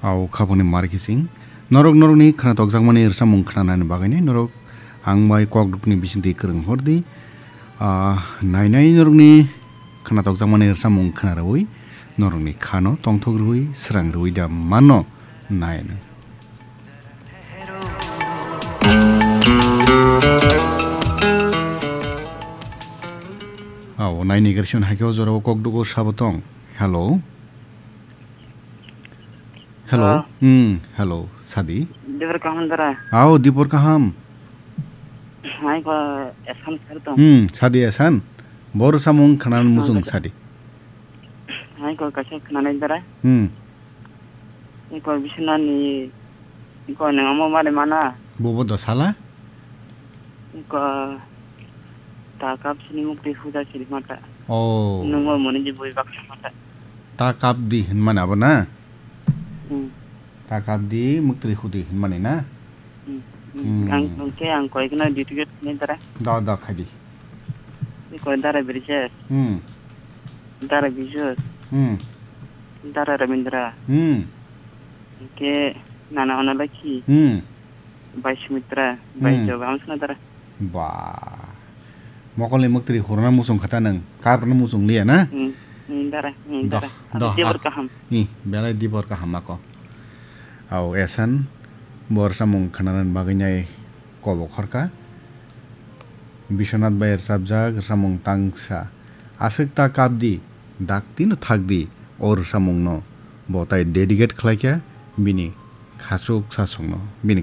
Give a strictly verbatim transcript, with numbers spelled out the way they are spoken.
Au khaboni mar kising. Norok norokni khwna tokjakmani rwchapmung khwnanani bagwino norok ang bai kokdukni bisingtwi kwrwng hordi. Ah, nainai norokni khwna tokjakmani rwchapmung khwna rwui norokni khano tongthok rwui srang rwui da mano nainai. Au naini gersion haikhe o jorao kokdugo sabo tong. Hello. Hello. Ah. Hmm, hello. Sadi. Dibor kaham dara. Ao, dibor kaham. Hai ko esan sar tong. Hmm, sadi esan. Bor samung khanan musung sadi. Hai ko kaisa khananai dara. Hmm. Hai ko bisina ni ko nang amo mare mana. Bobo dosala. Ko ta kap sini mukti huda sini mata. Oh. Nungo moni je bui baksa mata. Ta kap di hinmani abo na? Hmm. Ta kap di muktri hudi hinmani na? Hmm. Hmm. Ang tongke ang koi kena duty gate ni dara. Da, da, khai di. Ni koi dara Brijesh. Hmm. Dara Bijus. Hmm. Dara Ramindra. Hmm. Ke nana ona laki. Hmm. Bai Sumitra. Bai Hmm. Joga ang suna dara. Ba. Mokolni muktri hurna musung khata nang. Karna musung liya na? Hmm. Hmm, dara. Hmm, Doh, dara. Doh, Dibor ah. Kaham. Ih, belai dibor kaham ako. Au esan. Bor samung khananan bagwi nai kobok horka. Biswanath bai rwchapjak rwchapmung tangsa. Aswk ta kap di, dak tino thak di, o rwchapmungno. Bo tai dedicate khlai kha bini khachuk sasongno, bini